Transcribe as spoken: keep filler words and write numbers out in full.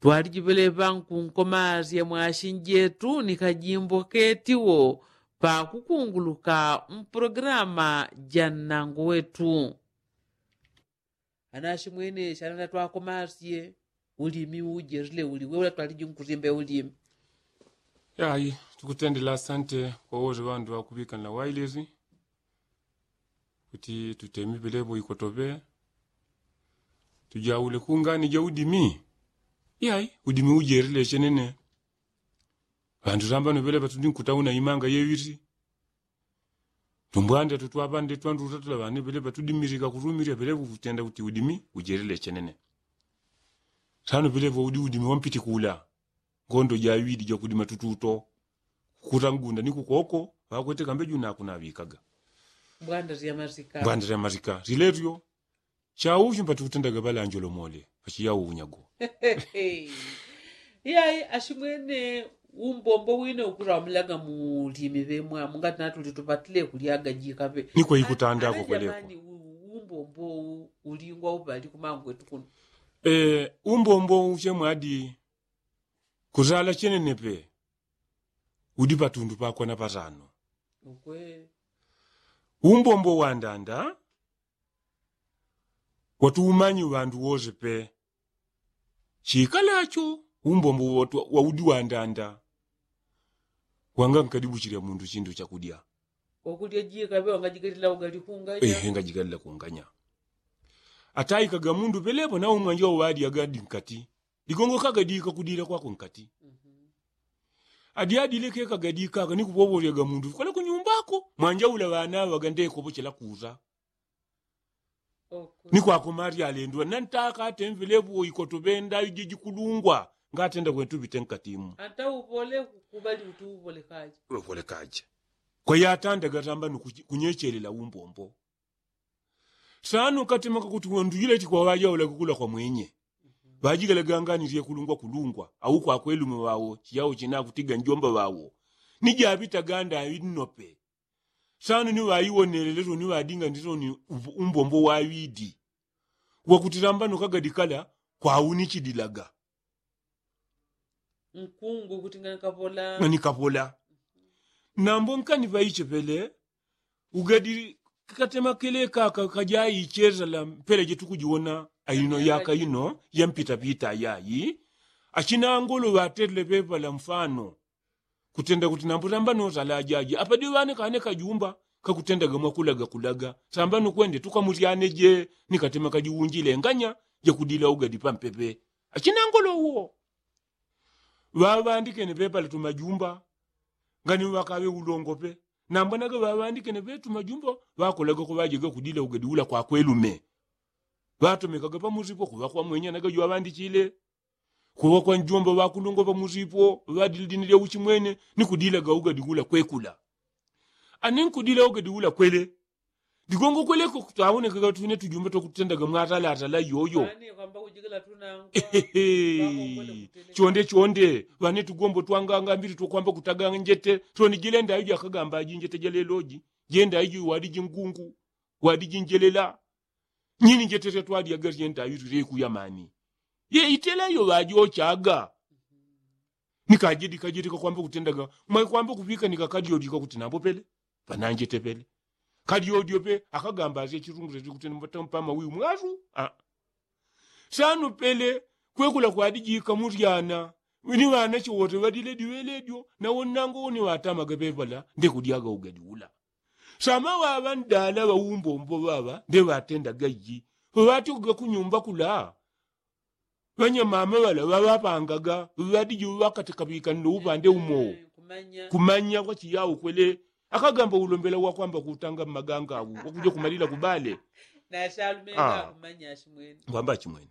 Twaliji pelepa nkunkomasye mwashinjetu ni kajimbo ketiwo pakukunguluka mpulogilama ja nnango wetu. Anashi mwene shana natwakomasye ulimi ujerile uli weula twaliji nkusimbe ulimi. Yayi, tukutendela asante kwa wose wandu wakupikanila wailesi kuti tutemi pelepo ikotope tujaule kungani ja udimi. Yayi, udimi ujerile chenene. Wandu sambano pelepa tudi nkutauna imanga yewisi tumbwanda tutwapande twandu utatula wane pelepa tudimirika kurumirya pelepa kutenda kuti udimi ujelile chenene. Sano pelepa udi udimi wampiti kula ngondo jawidi jakudima tututo kukuta ngunda ni kukoko pakwete kambe juna akunaŵikaga. Mbwanda sya masika siletyo. Chauchi mpati kutendaga pala anjolomole pachiyawo unyago. Iyayi ashimwene umbombo wine ukuramulaga mulimi ŵemwamu ngati natuli tupatile kulyaga jikaŵe. Nikwe ikutandako kweleko. Umbombo ulingwa uŵali kumangwetu kuno. Umbombo uchemwadi kuzala chenenepe udi patundu pakwana patano. Umbombo wandanda watuumanyi ŵandu wose pe chikalacho umbombo waudi wandanda. Wanga nkadibuchilya mundu chindu chakudya. Wakulya jikaŵe wangajigalila ugali kunganya. Ehe ngajigalila kunganya. Ataikaga mundu pelepo naumwanja uŵadyaga dinkati digongo kagadika kudila kwako nkati. Adyadile kekagadikaka nikupovolyaga mundu kole kunyumbako mwanja ula ŵanaŵaga ndekopochela kusa. Ni kwako mali alendwa nantaka atemvelepo ikoto ŵenda iji jikulungwa ngatenda kwentu ŵite nkatimu. Ata uŵole kukubali kuti uŵole kaja. Uŵole kaja. Kwa yatandaga tamba nukunyechelela umbombo. Sano katemaka kuti wondujile chikwaŵajaula kukula kwa mwenye ŵajigalaga ngani lyekulungwa kulungwa au kwakwelume ŵawo chiyawo chinakutiga njomba ŵawo. Ni jaŵitaga ndaŵi nnope. Sano ni ŵaiwonelele soni ŵadinga ndi soni umbombo waŵidi wakuti lamba nukagadikala kwaunichidilaga. Nkungu kuti ngani kapola ngani kapola. Nambo nkani ŵaichepele ugadi katemakele kaka kajaichesala mpela jetukujiwona aino yaka ino yampitapita yayi. Achinangolo ŵatelele ŵeŵala mfano kutenda kuti nambo lamba nosala ajaji apadi ŵane kane kajumba kakutendaga mwakulaga kulaga samba nukwende tukamusyane je ni katema kajiwunjile nganya jakudila ugadi pampepe. Achinangolo uwo ŵaŵandikene ŵepale tumajumba ngani ŵakaŵe ulongope. Nambwanaga ŵaŵandikene ŵe tumajumba ŵakolaga kuŵajega kudila ugadi ula kwakwelume. Ŵatomekaga pamusipo kuŵa kwamwenya naga jwaŵandichile kuŵa kwa njomba ŵakulungwa pamusipo ŵadili dini lya uchimwene ni kudilaga ugadi ula kwekula. Ani nkudila ugadi ula kwele digongo kweleko kutawonekaga tune tujumba twakutendaga mwatalatala yoyo. Chonde chonde ŵane tugombo twanganga mbili twakwamba kutaga njete toni jile ndaiji akagamba aji njete jaleloji jenda iji wadi jingungu wadi jinjelela. Nyini njetelya twalyaga lyenda yutu lyeku yamani yeitela iyo ŵajochaga. Ni kajedi kajedi kakwamba kutendaga mwaikwamba kupika ni kakadyodyo kakuti nambo pele pananjete pele kadyodyo pe akagamba asye chilungule likutenda mpama wiyu mwasu. Sano pele kwekula kwadijika mulyana ni ŵanache wote ŵadile diŵeledyo nawo nnango woni ŵatamaga pevala ndekudyaga ugadi ula. Sama ŵaŵa ndala ŵaumbombo ŵaŵa ndeŵatendaga iji ŵaŵatyoga kunyumba kula. Ŵanyamama ŵala ŵaŵapangaga ŵadiji ŵakatikapikani no upande umo kumanya kwachiya ukwele akagamba ulombela wakwamba kutanga mmaganga au wakuja kumalila kubale. Ngwamba achimwene